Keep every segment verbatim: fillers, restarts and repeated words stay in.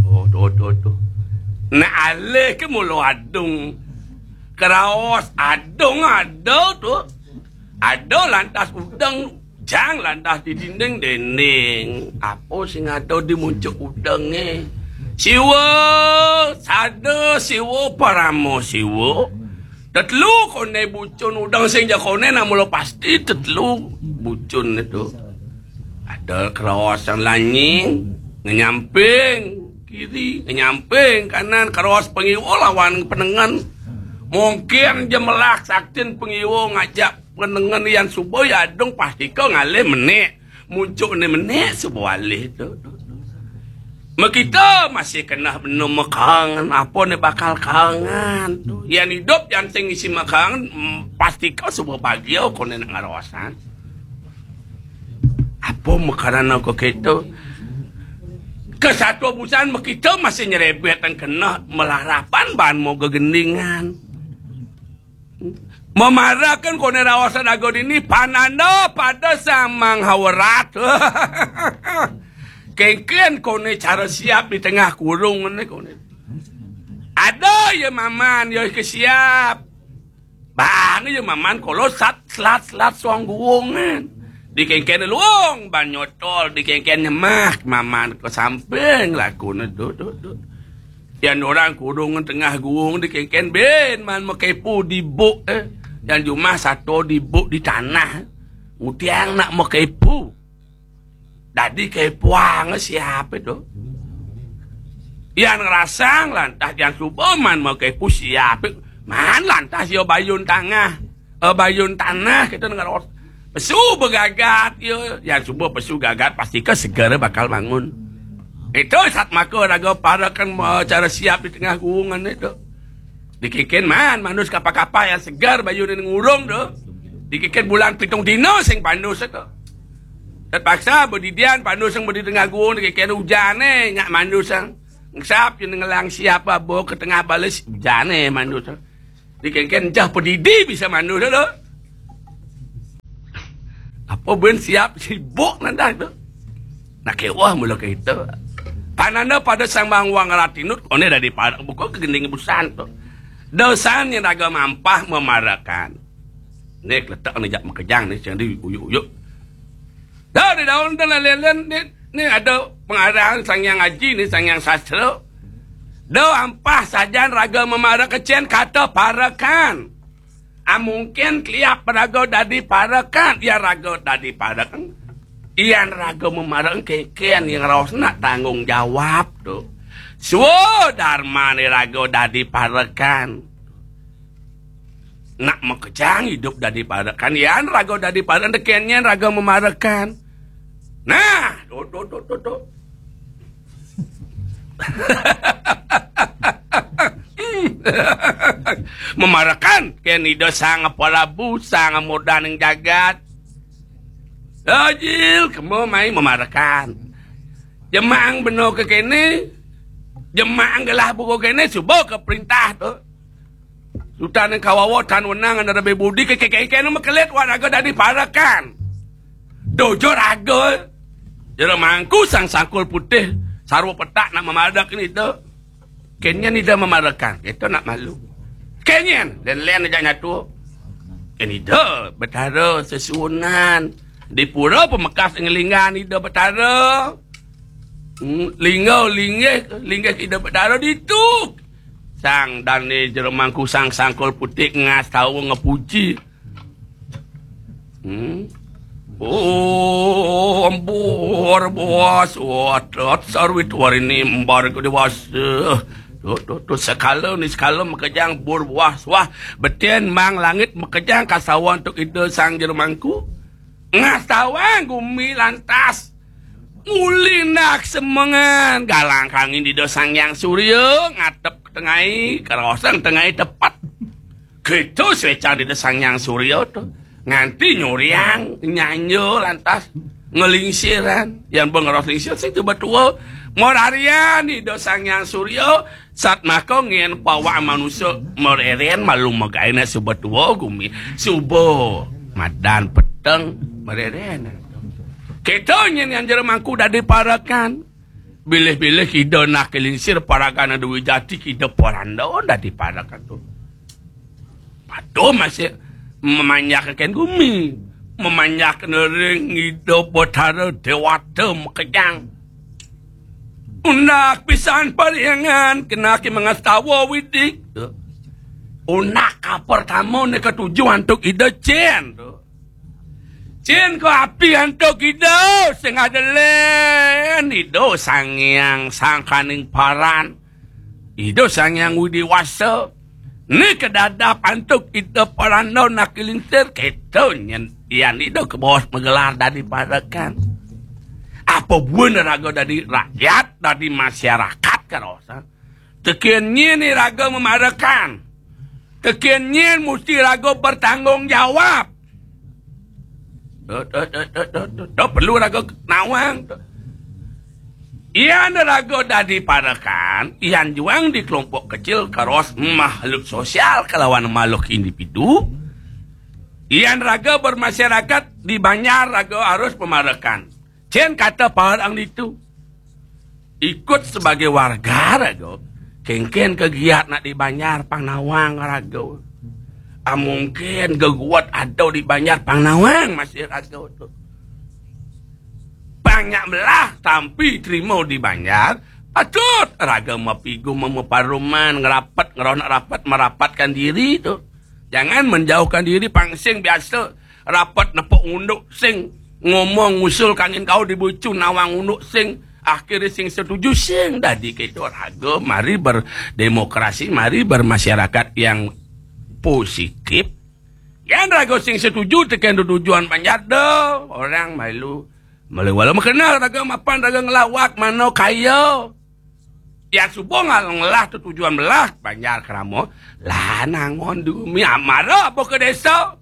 Oh, tuh, tuh, tuh. Nah, alih ke mula adung. Keraos adung ada tuh. Ada lantas udeng, jang lantas di dinding dinding. Apa sing ada di muncuk udenge? Siwa, sada siwa, parama siwa. Tetelu kone bucun udeng sing jakone namula pasti tetelu bucun itu. Ada keraosan lanying, ngenyamping kiri, ngenyamping kanan, keraos pengiwa lawan penengen. Mungkin jemelah saktin pengiwa ngajak penengen yang suba ya adung pasti ke ngalih menik. Muncuk ni menik suba alih tu. Makita masih kena bena mekangan, apa ni bakal kangan tu. Yang hidup yang sing isi mekangan, mm, pasti kau suba bahagia kau ni nak ngarawasan. Apa makanan aku kito? Kesatu busan makita masih nyerebet dan kena melarapan bahan mau gegendingan. Memarakan kone rawasan ago dini pananda pada samang hawerat. Kengken kone cara siap di tengah kurung ne kone. Ada ya maman ya ke siap. Bang ya maman kalau sat selat selat suang guwungan. Di kengken luung ban nyotol di kengken nyemak maman ke samping lakune tu tu tu. Yan orang kurung tengah guwung di kengken ben man makepu di buk, eh. Yan jumah sato di buk di tanah. Utiang nak makepu. Dadi kepuang siapa tu? Yan ngerasang lantas yan suba man makepu siapa? Man lantas yo bayun tangah. Eh, bayun tanah kita dengar pesu begagat yo. Yan suba pesu gagat pasti ke seger bakal bangun. Itu sat maka raga parakan, eh, cara siap di tengah guwungan itu. Dikikin man manus kapa-kapa yang segar bayun ini ngurung tu. Dikikin bulan pitung dino sing panus itu. Terpaksa bedidian panus yang bedi tengah guwung dikikin hujan eh nyak manus yang ngesap yang ngelang siapa bawa ke tengah balis hujan eh manus. Dikikin jah pedidi bisa manus tu. Apa ben siap sibuk nanti tu. Nak kewah mula kita. Pananda pada sambang wang ratinut, one dari para buku kegending busan tu. Dosan yang raga mampah memarakan. Ni letak ni jak makejang ni sing di uyuk-uyuk. Dah di daun tu lelen ni, ni ada pengarang Sang Yang Aji ni, Sang Yang Sastra. Dah ampah sajan raga memarakan cen kata parakan. Ah, mungkin keliap raga dadi parakan. Ya, raga dadi parakan. Yan raga memarakan keken yang raos nak tanggung jawab tu. Swadarma ni raga dadi parakan. Nak makejang hidup dadi parakan. Yan raga dadi parakan, deken yan raga memarakan. Nah, tu, tu, tu, tu, tu. Memarakan ken ida sang Prabu, sang mudaning jagat. Ajil, kemo mai memarakan. Jemang beno ke kene, jemang gelah buku kene, suba ke perintah tu. Sutan yang kawawa tan wenang anda lebih budi ke keke kene mekelit waraga dadi parakan. Dojo raga. Jero mangku sang sangkul putih, sarwa petak nak memadak ini tu. Kenyan ida memarakan, kita nak malu. Kenyan, dan len aja nyatu. Ken ida betara sesuunan. Di pura pemekas ngelingan ida betara. Hmm, lingga linggih, linggih ida betara ditu. Sang dane jero mangku sang sangkul putih ngas tahu ngepuji. Hmm. Oh, embur buas watat sarwit warini embar ke dewasa. Tu, tu, tu, sekala ni sekala makejang bur buas wah. Beten mang langit makejang kasawan tu ida sang jero mangku. Ngastawan gumi lantas. Ngulinak semengan galang kangin ida sang yang surya ngatep tengai, kerawasan tengai tepat. Gitu swecang ida sang yang surya tu. Nganti nyuriang, nyanyo lantas, ngelingsiran. Yang bengeros lingsir sing tiba tua. Morarian ida sang yang surya, sat maka ngin pawak manusia mereren malu magaina suba tua gumi. Suba madan peteng mereren. Kita nyin yang jero mangku dadi parakan. Bilih-bilih Ida Anak Lingsir paragané Dwijati, Ida Poranda dadi parekan to. Patuh masih memanjakaken gumi, memanjakaken ring Ida Betara Dewata makejang. Undak pisan pariangan kenaki mangastawa Widi. Undak kapertama né katuju antuk Ida cén to. Cén kaapi antuk Ida sing ada lén Ida Sang Hyang Sangkaning Paran. Ida Sang Hyang Widi Wasa. Né kadadap antuk Ida Poranda Anak Lingsir kéto nyén yan Ida kabaos magelar dadi parekan. Apa buin raga dadi rakyat, dadi masyarakat karosan. Tekén nyén iraga mamarekan. Tekén nyén musti raga bertanggung jawab. Duh, duh, duh, duh, duh, duh, duh, perlu raga nawang. Yan raga dadi parekan, yan juang di kelompok kecil karos makhluk sosial kalawan makhluk individu. Yan raga bermasyarakat di banjar raga harus pamarekan. Cén kata parang ditu. Ikut sebagai warga raga. Kénkén kagiat nak di banjar pang nawang raga. Amungkin geguat ada di banjar pang nawang masih raga to. Pang nyak melah tampi trima di banjar, patut raga mapigu mamaparuman, ngerapet, ngeronak rapet, merapatkan diri to. Jangan menjauhkan diri, pang sing biasa rapet nepuk unduk sing ngomong ngusul kangin kau dibucu nawang unduk sing akhirnya sing setuju sing dadi kéto raga mari berdemokrasi, mari bermasyarakat yang positif. Yan raga sing setuju tekén tujuan panjat do orang malu. Maliwala makenal raga mapan raga ngelawak mano kaya. Yan suba ngal-, ngelah tu tujuan belah banjar kerama. Lah nangon dumi amara apa ke desa?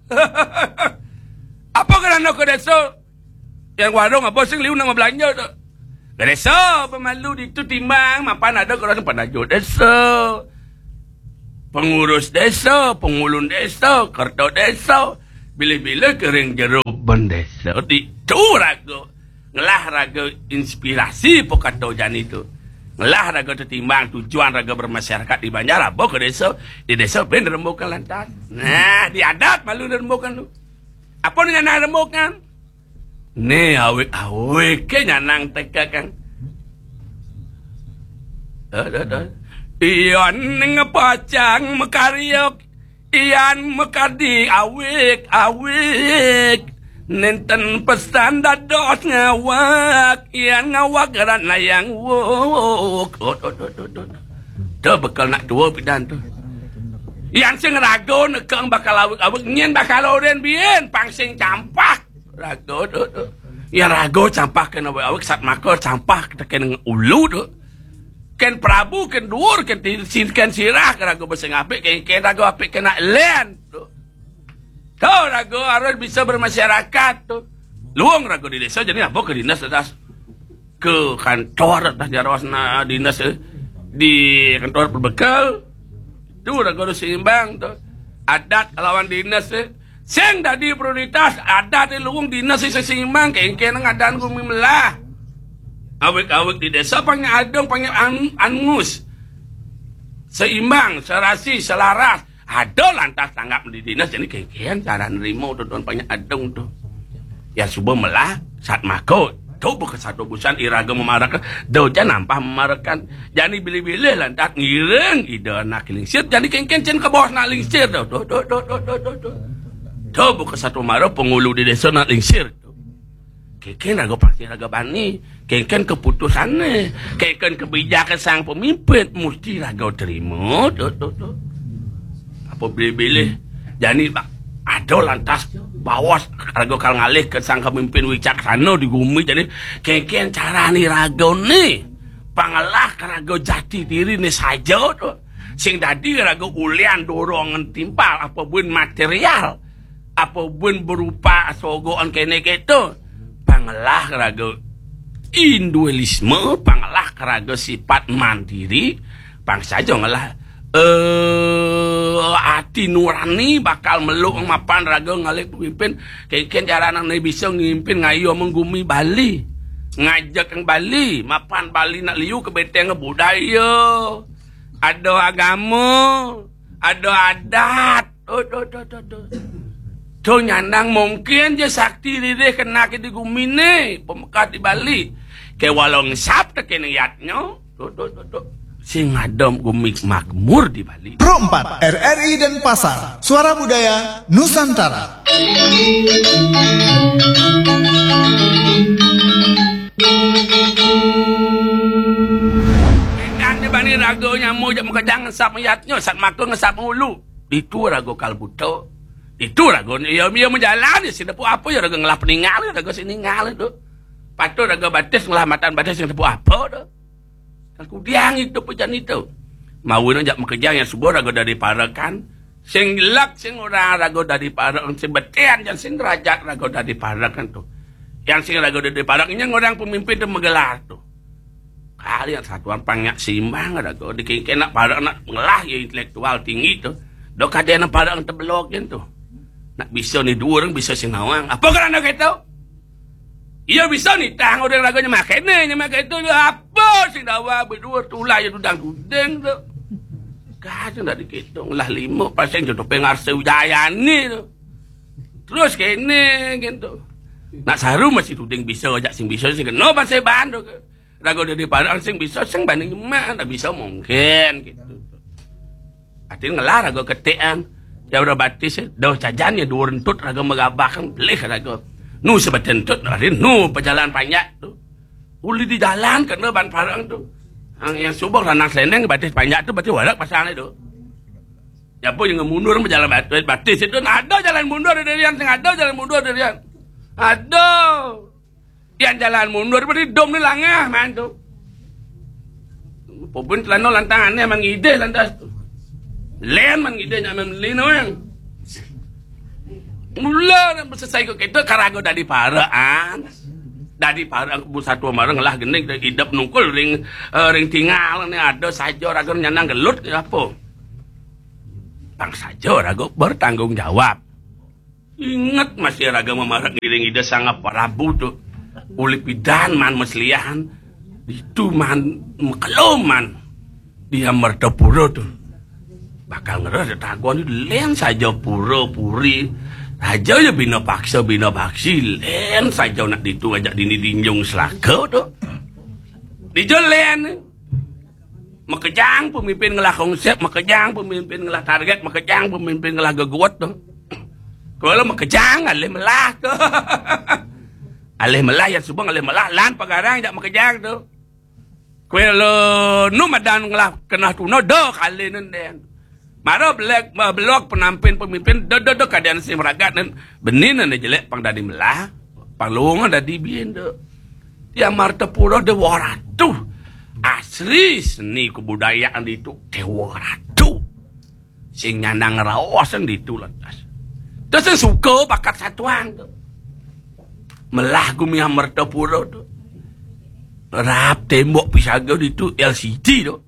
Apa ke dana ke desa? Yang warung apa sing liu nama belanja tu? Ke desa pemalu ditu timbang mapan ada ke orang penajo desa. Pengurus desa, pengulun desa, kerta desa, bilih-bilih kering jero bendesa. Ditu raga ngelah raga inspirasi pokato jani tu. Ngelah raga tetimbang tujuan raga bermasyarakat di banjar apa ke desa, di desa ben rembukan lantas. Nah, di adat malu rembukan tu. Apa ni nyanang rembukan? Né awik-awik ke nyanang teka kan. Dah, dah, dah. Iya ning pacang makarya Ian makadi awik-awik. Nénten pesan dados ngawak, Ian ngawak geran layang wuk. Oh, oh, oh, oh, oh. Tuh bekel nak tua pidan tuh. Ian sing rago nekeng bakal awik-awik, nyén bakal oren bien, pang sing campak. Rago tuh, tuh. Ian rago campak kena awik-awik, sat maka campak tekén ulu tuh. Kén Prabu, kén duur, kén ti-, si-, kén sirah, kén raga besing apik, kén, kén raga apik kena lén. Tuh. Tuh, raga harus bisa bermasyarakat tuh. Luung raga di desa, jadi apa ke dinas atas ke kantor atas jaros na dinas, eh, di kantor perbekel. Tuh, raga harus seimbang tuh. Adat lawan dinas, eh. Sing dadi prioritas adat di luung dinas sing seimbang, kéngkén ngadaan gumi melah. Awik-awik di desa pang adung, pang an-, angus. Seimbang, serasi, selaras. Ada lantas tanggap di dinas, jadi kéngkén cara nerima tuh, tuh, pang adung tuh. Ya suba melah, sat mako. Tuh, bukan satu busan iraga memaraka, doja nampah memarakan. Jani bilih-bilih lantas ngiring ida nak lingsir, jani kéngkén cén ke bawah nak lingsir tuh. Tuh, tuh, tuh, tuh, tuh, tuh, tuh. Tuh, bukan satu mara pengulu di desa nak lingsir. Kéngkén raga pasti raga bani. Kéngkén keputusanné. Kéngkén kebijakan sang pemimpin. Mesti raga terima. Tuh, tuh, tuh. Apa bilih-bilih. Jani ba-, ada lantas bawas raga kal ngalih ke sang pemimpin wicaksana di gumi. Jani kéngkén carani raga né. Pangelah raga jati diri né saja tuh. Sing dadi raga ulian dorongan timpal apa buin material. Apa buin berupa sogoan kéné kéto. Pangelah raga individualisme, pangelah raga sifat mandiri, pang saja ngelah, eh, ati nurani bakal meluk mapan raga ngalih pemimpin, kéngkén cara anak bisa ngimpin ngayu menggumi Bali. Ngajak yang Bali, mapan Bali nak liu ke beteng budaya. Ada agama, ada adat. Oh, do, do, do, do. Tu nyandang mungkin je sakti ririh kena ke di gumi ni, pemekat di Bali. Ke walau ngesap te ke niatnya. Do, do, do, do. Sing ada gumi makmur di Bali. Pro empat, R R I Denpasar, Suara Budaya Nusantara. Endang di bani raga nyamuk jak makejang ngesap mayatnya, sat maka ngesap ngulu. Ditu raga kal buta. Ditu raga, iya, iya majalan, iya sing tepuk apa, iya raga ngelah peningal, iya raga sing ningal tu. Patut raga batis ngelah matan batis sing tepuk apa tu. Kal kudiang itu pejan itu. Mawi nang jak makejang yang subuh raga dadi parekan. Sing lek sing orang raga dadi parek, sing betian yang sing derajat raga dadi parek kan tu. Yang sing raga dadi parek nya orang pemimpin tu magelar tu. Kali yang satuan pang nyak simbang raga dikengken nak parek nak ngelah ya intelektual tinggi tu. Dok ada nak parek tebelok kan tu. Nak bisa ni dua orang bisa sing nawang. Apa kerana kata? Iya bisa nitah orang raga nyemak kene, nyemak itu apa sing dawa berdua tulah ya dudang dudeng tu. Kacang dah dikitung lah lima pasang jodoh pengarsa Wijayani tu. Terus kene gitu. Nak saru masih tuding bisa ajak sing bisa sing kena pasai bandu ke. Raga dadi parang sing bisa sing banding nyemak tak bisa mungkin gitu. Atin ngelah raga ketekan. Ya udah batis, eh. Dah cajan ya dua rentut raga megabahkan, belih raga. Nu sebetentut, hari nu pejalan panjak tu. Uli di jalan kena ban parang tu. Yang, yang subang ranang selendang batis panjak tu, batis warak pasang tu. Ya apa yang mundur pejalan batis, batis itu, nah, ada jalan mundur dari yang sing ada jalan mundur dari yang. Ada. Yang jalan mundur beri dom ni langah man tu. Pupun celana lantang aneh man ngidih lantas tu. Len man ngidih nyak man lino yang. Mula selesai kok kita karago dadi paraan. Dadi paraan bu satu marang lah geni idep nungkul ring, eh, ring tinggal ni ada saja raga nyanang gelut ke apa. Pang saja raga bertanggung jawab. Ingat masih raga mamarak ngiring Ida Sang Prabu tu. Uli pidan man meslihan. Itu man mekelum man. Dia mertapura tu. Bakal ngeres tagon len saja pura puri. Raja ya bina paksa bina baksi len saja nak ditu ajak dini dinjung selaka tu. Dija len. Makejang pemimpin ngelah konsep, makejang pemimpin ngelah target, makejang pemimpin ngelah geguat tu. Kalau makejang alih melah tu. Alih melah yang subang alih melah lan pagarang jak makejang tu. Kalau nu madan ngelah kena tuna dah kali nenden. Mara belek belok penampin pemimpin dah dah dah keadaan sing meragat nen benin nen jelek pang dadi melah, pang longan dadi bien dah. Dia martapura de waratu. Asli seni kebudayaan itu dewa ratu. Sing nyanang raosan ditu lantas. Terus sing suka bakat satuan tu. Melah gumi Amartapura tu. Rap tembok pisaga ditu L C D tu.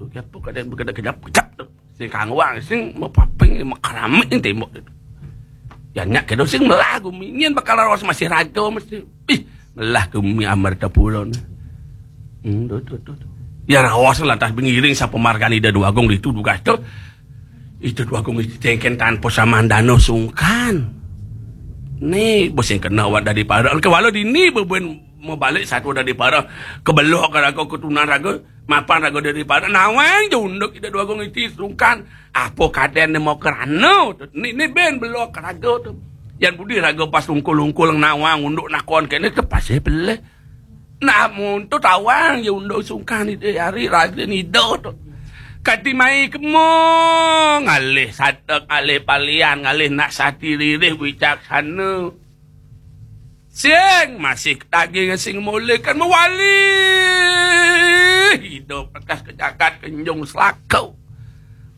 Tu kiapa kadang berkedap-kedap kejap tu. Sing kangwang sing mapaping makaramik tembok tu. Ya nyak kedo sing melah gumi nyen bakal raos masih raga mesti. Ih, melah gumi Amartapura ni. Hmm, tu, tu, tu, tu. Ya raos lantas bengiring sapa margani da Dwagung ditu dugas tu. Itu Dwagung itu tengken tanpa samandana sungkan. Ni bosing kena awak dari para. Ke walau dini beben mau balik satu dari para. Kebelok raga ketunan raga. Mapan raga dari para. Nawang je unduk ida Dwagung itu sungkan. Apa kaden dia mau kerana tu? Ni, ni ben belok raga tu. Yan budi raga pas ungkul-ungkul nawang unduk nakon kene tu pasal peleh. Namun tu tawang je unduk sungkan ni dia hari raga ni do tu. Kati mai kemo ngalih satek ngalih palian ngalih nak sati ririh wicaksana. Sing masih daging sing mulih kan mewali. Hidup atas kejagat kenjung selaku.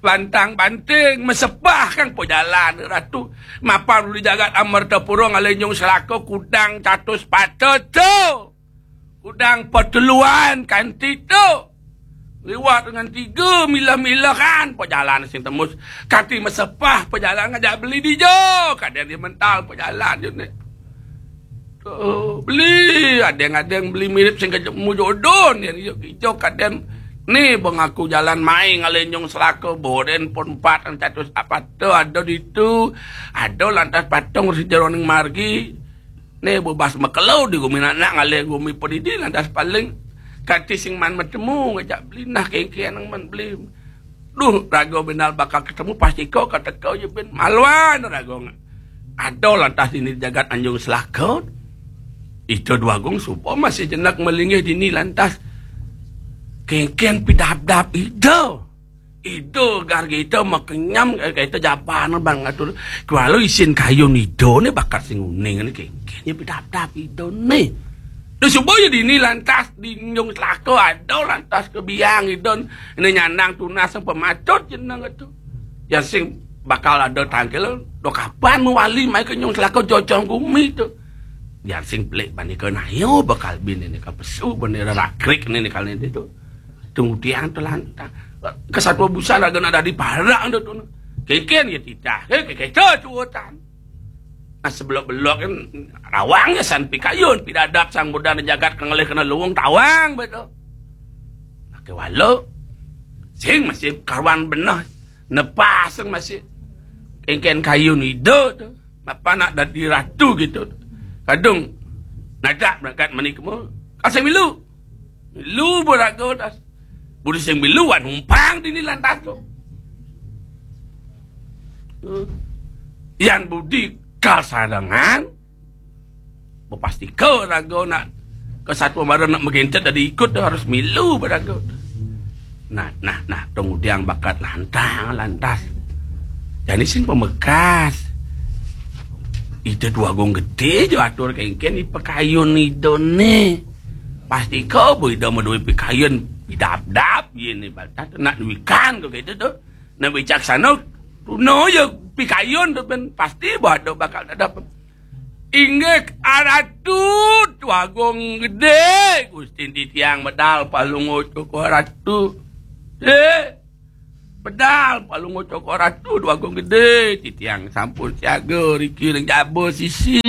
Lantang banting mesepah kang pejalan ratu. Mapan uli jagat Amartapura ngalih nyung selaku kudang catus patut tu. Kudang peteluan kanti tu. Liwat dengan tiga milah-milahan pejalan sing tembus. Kati mesepah pejalan ngajak beli dijo. Kadang dia mental pejalan je ni. Tuh, beli, ada yang, ada yang beli mirip sing ketemu jodoh nih, yo, ijo kaden. Nih, bang aku jalan main ngalih Nyong Selaka, boden pon empat ratus apa tuh, ada di itu, ada lantas patung si jeroning margi. Nih, bebas mekelo di gumi nak, nak ngalih gumi pedidi, lantas paling kati sing man metemu ngajak beli, nah, kengkeng nang man beli. Duh, raga benal bakal ketemu, pasti kau kata kau je ben maluan raga. Ada lantas ini jagat Anjung Selaka. Itu dua gong supo masih jenak melinggih dini lantas. Kengkeng pidap-dap ida. Ida gar kita makenyam, eh, kita jaban bang atur. Kualo isin kayu nido ni bakal sing uning ni kengkeng pidap-dap ida ni. Duh, supo ya dini lantas di Anjung Selaka ada lantas ke biang ida. Ini nyandang tunas yang pematut jeneng itu. Yang sing bakal ada tangkil, do kapan mewali mai ke Nyong Selaka jojong gumi tu. Yang sing pelik bani ke nayo bakal bin ini ke pesu bani rakrik ini kali ini tu. Tunggu tiang tu lantas. Kesatuan busan raga nak dadi parak tu tu. Kengkeng ya titah. Kengkeng kita cuutan. Nah, sebelok-belok kan rawang ya san pikayun, pidadap sang muda jagat kengelih kena luwung tawang betul. Pakai walau sing masih karuan benah, nepas sing masih kengkeng kayu nido tu. Apa nak dadi ratu gitu. Kadung nadak berangkat mani kemu. Kasih milu. Milu berago das. Budi sing milu wan umpang dini lantas tu. Yan budi kal sadangan. Bepasti ke raga nak ke satu mara nak megentet dari ikut tu harus milu beraga. Nah, nah, nah, tong udiang bakat lantang, lantas. Jadi sing pemekas. Ida dua gong gede je atur kengkeng di pekayun ida ni. Pasti kau bu ida medui pekayun, pidap-dap ye ni baltas tu nak duikan kau gitu tu. Nak bijaksana, tuna ya pikayun tu ben pasti bahado bakal ada. Inggih aratu dua gong gede, Gusti titiang medal palungut koko aratu. Eh, medal palungut koko aratu dua gong gede, titiang sampun siaga riki ring jaba sisi.